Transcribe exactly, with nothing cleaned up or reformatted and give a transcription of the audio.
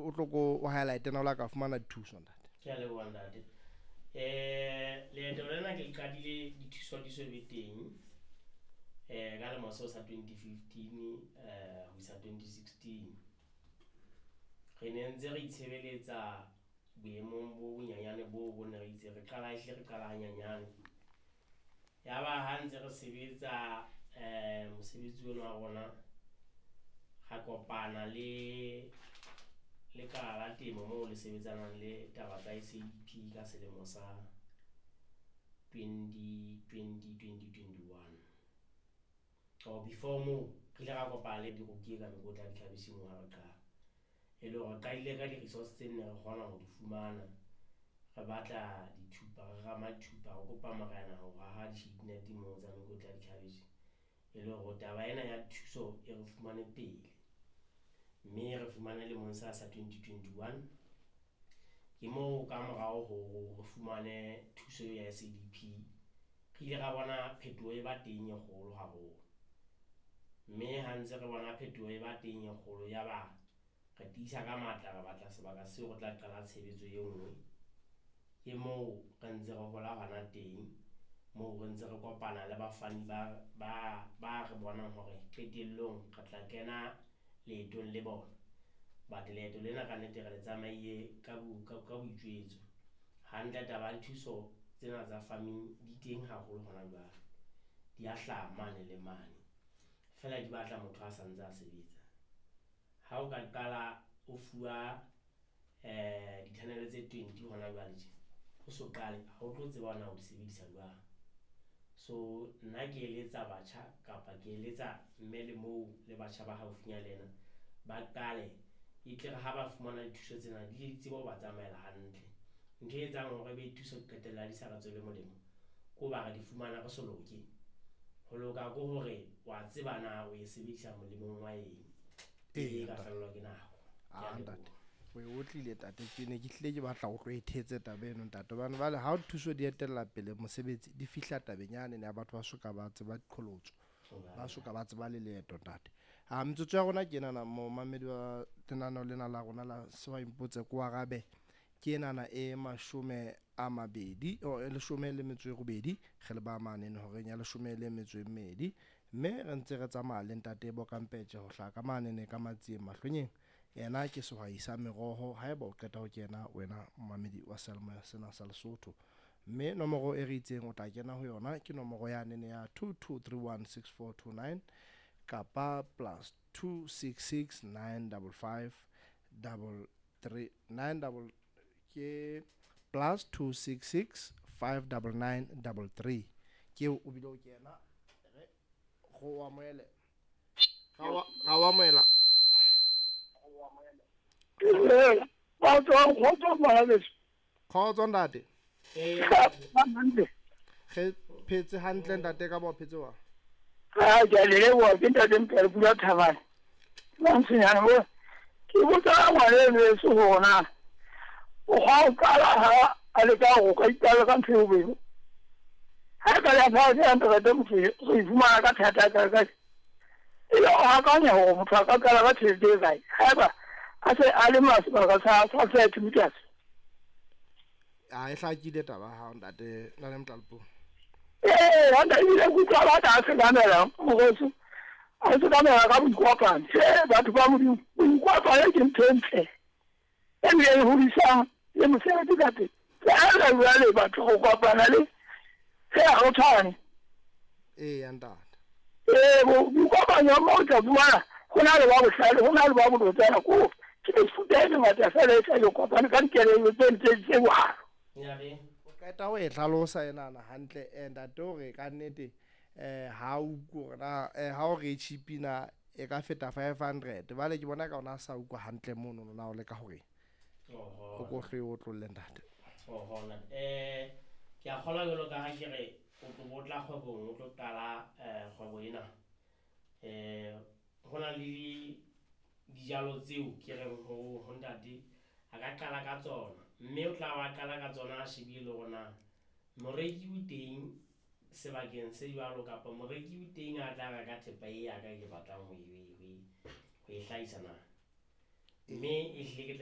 o tlo ko o highlight na o la ka fumana dithuso ntate. Ke a leboha ntate. Eh leeto lena ke le qadile dithuso di so be teng. Eh ka lemo seo sa twenty fifteen eh ho isa twenty sixteen. Re ne ntse re itshebeletsa boemong bo bonyenyane bo bo ne re itse re qala ehlile re qala hanyenyane. Ya ba ha ntse re sebetsa eh mosebetsi ona wa rona ra kopana le lekala la temo moo le sebetsanang le taba tsa S A D P ka selemo sa twenty twenty, twenty twenty-one. Or before moo re ile ra kopana le diroki ka mekotla ya dikhabetjhe moo ha re qala. E le hore re qadile ka di-resource tse nne re kgona ho di fumana. Re batla dithupa, re rama dithupa, re kopa morena ho haha di-shade net moo tsa mekotla ya dikhabetjhe. E le hore taba ena ya thuso e re fumane pele. Mme re fumane lemong sa sa twenty twenty-one. Ke moo ka morao ho re fumane thuso ya S A D P. Re ile ra bona phetoho e ba teng e kgolo haholo. Mme ha ntse re bona phetoho e ba teng e kgolo ya ba re tiisa ka matla re batla sebaka seo re tla qala tshebetso e nngwe. Ke moo re ntse re hola hona teng, moo re ntse re kopana le bafani ba, ba, ba re bonang hore qetellong re tla kena leetong le bona. But leeto lena ka nnete re le tsamaile ka bo-, ka, ka boitjwetso. Hantle taba ya dithuso tsena tsa farming di teng haholo hona jwale. Di a hlaha mane le mane. Feela di batla motho a sa ntse a sebetsa. Ha o ka qala o fuwa, eh, di-tunnel tse twenty hona jwale tje, o so qale, ha o tlo tseba hore na o di sebedisa jwang. So nna ke eletsa batjha kapa ke eletsa mme le moo le batjha ba haufinya le ena ba qale, e tle re ha ba fumana dithuso tsena di di tsebe ho ba tsamaela hantle. Ntho e etsang hore ebe dithuso qetella di sa re tswele molemo ke hoba re di fumana re so loke. Ho loka ke hore wa tseba na o e sebedisa molemong wa eng. Ee, E ka ntate. fellwa ke nako. Ah, Ke a ntate. leboha. O e otlile ntate, ke ne ke hlile ke batla ho tlo e thetse taba eno ntate. Hobane jwale ha thuso di etella pele mosebetsi di fihla tabeng yane ya batho ba soka ba tseba diqholotso. Ba soka ba tseba le leeto ntate. Ah, metsotso ya rona ke enana momamedi wa lenaneo lena la rona la Sehwai Mpotse ko arabe. Ke enana e mashome a mabedi, o, e leshome le metso e robedi, re le ba mane horeng ya leshome le metso e mmedi. Mme re ntse re tsamaya le ntate Bokampetje ho hlaha ka manene ka Matsieng Mahlwenyeng. Yena ke sehwai sa meroho, haeba o qeta ho kena wena momamedi wa seyalemoya sena sa Lesotho. Mme nomoro e re itseng o tla kena ho yona ke nomoro ya nene ya two two three one six four two nine kapa plus two six six nine double five double three nine double ke plus two six six five double nine double three. Ke o bile o kena re go amohele. Ga wa, ga wa amohela. Kgotso, kgotso ngwana beso. Kgotso ntate. Ee. Re phetse hantle ntate, ka ba o phetse wa? Ha, ke a le leboha, ke ntate Mphele Pula Thabane. Mantswenyana bo, ke botsa ngwana eno heso hore na o kgwa o qala ha a leka hore o ka iqala ka ntho e bobebe. Ha e ka ya fatshe ya ntate motho re e fumana ka thata ka kae. E le o akanya hore motho a ka qala ka tjhelete e kae. Haeba a se a lema sebaka sa, sa thirty meters. A e hlakile taba ya hao ntate, nna le Motlalepule. Ee, ha ntate, ebile ke utlwa ba tla sekamela, mokgotsi. A sekamela ka boikopano. Tjhe, batho ba Modimo, boikopano ke ntho e ntle. Ebile e hodisang le mosebetsi ka teng. Feela jwale batho go kopana le ge ha go tshwane. Ee, ya ntate. Ee, bo-, boikopanyo mo o tla fumana go na le ba bohlale, go na le ba bolotsana, ko ke mefuta e mengata fela e tla yo kopana ka dikelello tse ntse tse jwalo. Ya re. O qeta ho e hlalosa enana hantle, eh, ntate hore ka nnete, eh, ha o utlwe hore na, eh, ha o re tjhipi na e ka feta five hundred. Jwale ke bona ka ona a sa utlwa hantle mono na o leka hore Oho. o ko hle o otlolle ntate. Oho, ntate. Eh, ke a kgolwa jwalo ka ha ke re o tlo bo tla kgwebong, o tlo qala, eh, kgwebo ena. Eh, ho na le di-, dijalo tseo ke reng ho, ho ntate a ka qala ka tsona, mme o tla wa qala ka tsona a shebile hore na moreki o teng sebakeng se jwalo kapa moreki o teng a tla reka thepa e ya ka ke batlang ho e, ho e, ho e hlahisa na. Mme ehlile ke tla